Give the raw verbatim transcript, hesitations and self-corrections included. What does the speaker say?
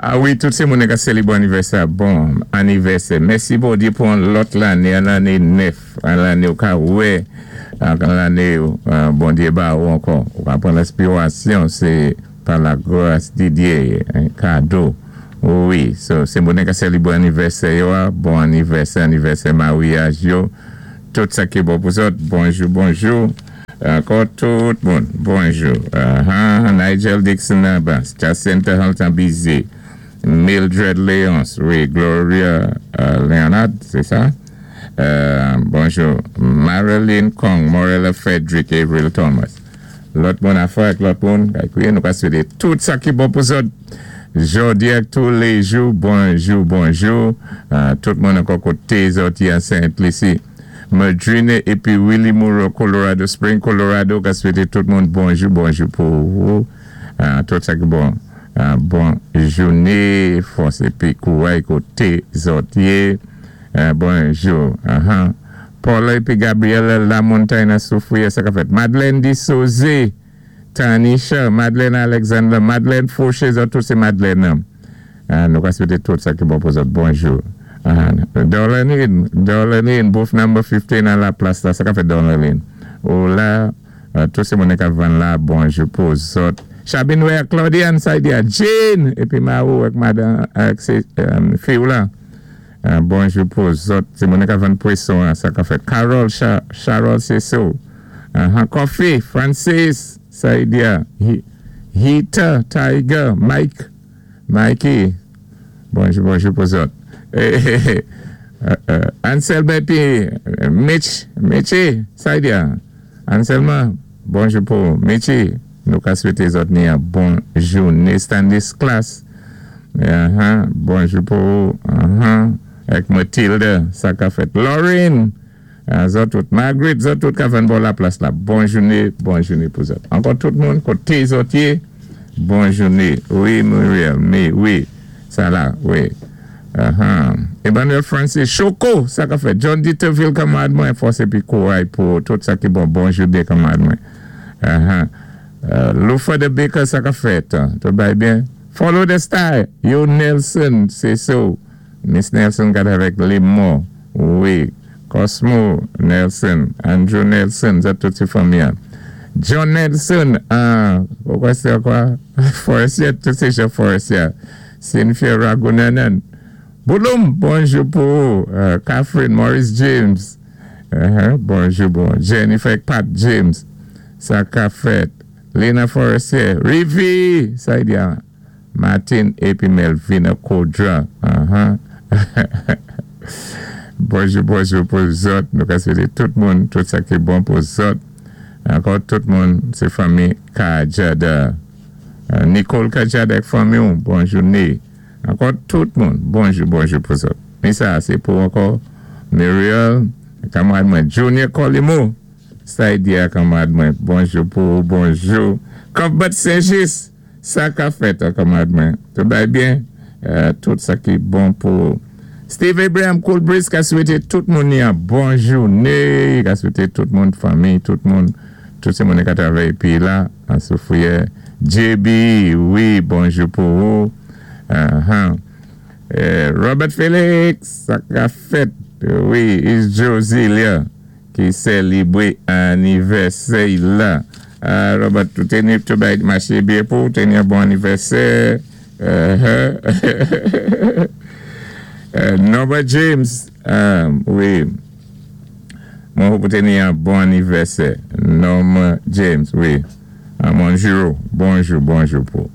A wi, tout sé moun ka sélébwé anivèsè, bon anivèsè. Mèsi Bondyé pou an lòt lanné, an lanné nèf, an lanné ou ka wè, an lanné Bondyé ba ou ankò. Ou ka pran lenspirasyon, sé pa la gras di Dyé, kado. Wi, so, sé moun ka sélébwé anivèsè yo, bon anivèsè, anivèsè maryaj yo. Tout sa ki bon pou zòt, bonjou, bonjou. Ankò tout moun, bonjou. Uh-huh, Nigel Dixon Abbas, Jacinta Halton Bizet, Mildred Léonce, wi, Gloria euh, Leonard, c'est ça? Euh, bonjou. Marilyn Kong, Morella Frederick, Avril Thomas. Lòt moun afè ak lòt moun, nou ka swété tout sa ki bon pou zòt. Jodi ak tou lé jou, bonjou, bonjou. Euh, tout moun ankò koté zòt an Saint-Lucie. Madrine épi Willie Moore, Colorado Spring, Colorado, ka swété tout moun bonjou, bonjou pou ou. Euh, tout sa ki bon. Uh, bon jouné, fòs épi kouray koté zòt yé. Uh, bonjou. Uh-huh. Paula épi Gabriela La Montagne Soufrière, sa ka fèt. Madeleine Dissosé, Tanisha, Madeleine Alexander, Madeleine Fauché, zòt tout sé Madeleine. Uh, nou ka swété tout sa ki bon pou zòt. Bonjou. Uh, Darlene, Darlene, booth number fifteen à la place la, sa ka fèt, Darlene? Ou la, uh, tout sé moun ka vann la, bonjou pou zòt. Chabinwe Claudiane Saidia, Jane, épi Marou ak madan, ak sé, um, fi ou la. Uh, bonjou pou zòt. Sé moun ka vann pwason, sa ka fèt? Carol, Cha, Charol Seso. Uh, Coffee, Francis, Saidia, Hita, Tiger, Mike, Mikey. Bonjou, bonjou pou zòt. Eh, eh, uh, Anselme épi Mitch, Mitchy, Saidia. Anselma, bonjou pou Mitchy. Nou ka swété zòt ni an bon jouné. Stanley Class. Uh-huh. Bonjou pou uh-huh. Ak Matilda, sa ka fèt? Lauren, uh, zòt tout. Margaret, zòt tout ka vann bò la plas la. Bon jouné, bon jouné pou zòt. Ankò tout moun, koté zòt yé, bon jouné. Wi, Muriel, mais wi, sa la, wi. Uh-huh. Emmanuel Francis, Choco, sa ka fèt? John Dieterville, kanmarad mwen, fòs épi kouray pou tout sa ki bon, bon jouné, kanmarad mwen. Uh-huh. Uh, Lufa the Baker, sa ka fèt? Tout bay byen? Follow the Star, Yo Nelson, sé so. Miss Nelson gad avèk Lemon, wi. Cosmo Nelson, Andrew Nelson, sa tout sé fanmi. John Nelson, ah, kwa sé kwa? Forestier, tout sé jan Forestier. Cynthia Ragunanan. Bouloum, bonjou pou uh, Catherine Maurice James. Uh-huh, bonjou, bon. Jennifer Pat James. Sa ka fèt? Lena Forestier. Rivi, Saidia. Martin épi Melvina Kodra. Uh-huh. Bonjou, bonjou pou zòt. Nou ka swété tout moun, tout sa ki bon pou zòt. Ankò tout moun, sé fanmi Kajada. Uh, Nicole Kajada ak fanmi ou, bon jouné. Ankò tout moun, bonjou, bonjou pou zòt. Men sa, sé pou ankò Muriel, kanmarad mwen, Junior Colimo. Saidia, kanmarad mwen, bonjou pou bonjou. Cuthbert Saint-Just, sa ka fèt, kanmarad mwen? Tout bay byen, uh, tout sa ki bon pou Steve Abraham Cool Breeze ka swété tout moun yon bon jouné, ka swété tout moun fanmi, tout moun, tout sé moun ka travay épi la, an Soufrière. J B, wi, bonjou pou ou. Uh-huh. Eh, Robert Felix, sa ka fèt? Wi, is Josilia ki sélébwé anivèsè la. Uh, Robert, tout ni tout bay maché byen pou teni yon bon anivèsè. Uh-huh. uh, Norbert James, um, wi. Mwen pou teni yon bon anivèsè. Norma James, wi. Uh, bonjou, bonjou, bonjou pou.